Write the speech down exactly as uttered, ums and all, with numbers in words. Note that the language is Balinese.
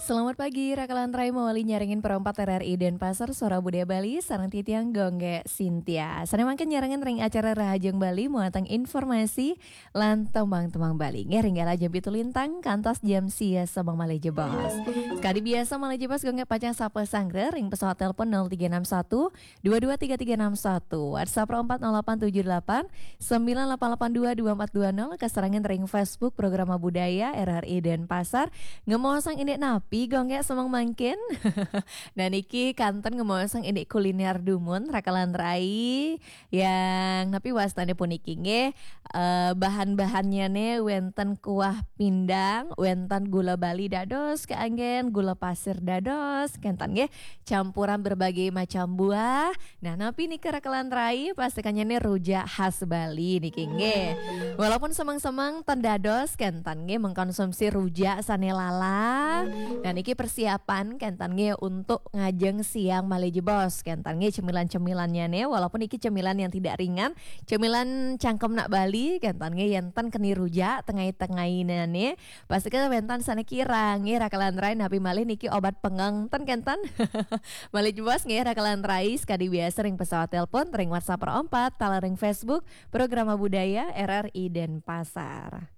Selamat pagi, Raka lan Rai, mawali nyarengin Pro empat R R I Denpasar, Suara Budaya Bali, sareng titiang Gonggé Sintia. Sané mangkin nyarengin ring acara Rahajeng Bali, muatang informasi lan tembang-tembang Bali. Nggih, ring galah jam pitu lintang, kantos jam sia semeng malih jebos. Sekadi biasa malih jebos, Gonggé pacang sapa sanggra ring pesawat telepon nol tiga enam satu, dua dua tiga tiga enam satu, WhatsApp Pro empat nol delapan tujuh delapan, sembilan delapan delapan dua dua empat dua nol, kasarengin ring Facebook Programa Budaya R R I Denpasar. Ngemaosang indik napi, Gonggé, semeng mangkin? Nah, niki kanten ngemaosang indik kuliner dumun, Raka lan Rai. Yang napi wastané puniki nggih, eh, bahan-bahannya nih wénten kuah pindang, wénten gula Bali dados, kaanggén gula pasir dados, kénten nggih, campuran berbagai macam buah. Nah, napi nika, Raka lan Rai, pastikannya nih rujak khas Bali niki nggih. Walaupun semeng-semeng ten dados, kénten nggih, mengkonsumsi rujak sané lalah. Nah, niki persiapan kénten nggih untuk ngajeng siang malih jebos. Kénten nggih cemilan-cemilannya nih, walaupun iki cemilan yang tidak ringan, cemilan cangkem nak Bali, kénten nggih yén ten keni rujak tengah-tengahina nih. Pasti kan wénten sané kirang nggih, Raka lan Rai, napi malih niki obat pengeng ten kénten. Malih jebos nggih, Raka lan Rai, sekadi biasa ring pesawat telepon, ring WhatsApp Pro empat, taler ring Facebook Programa Budaya R R I Denpasar.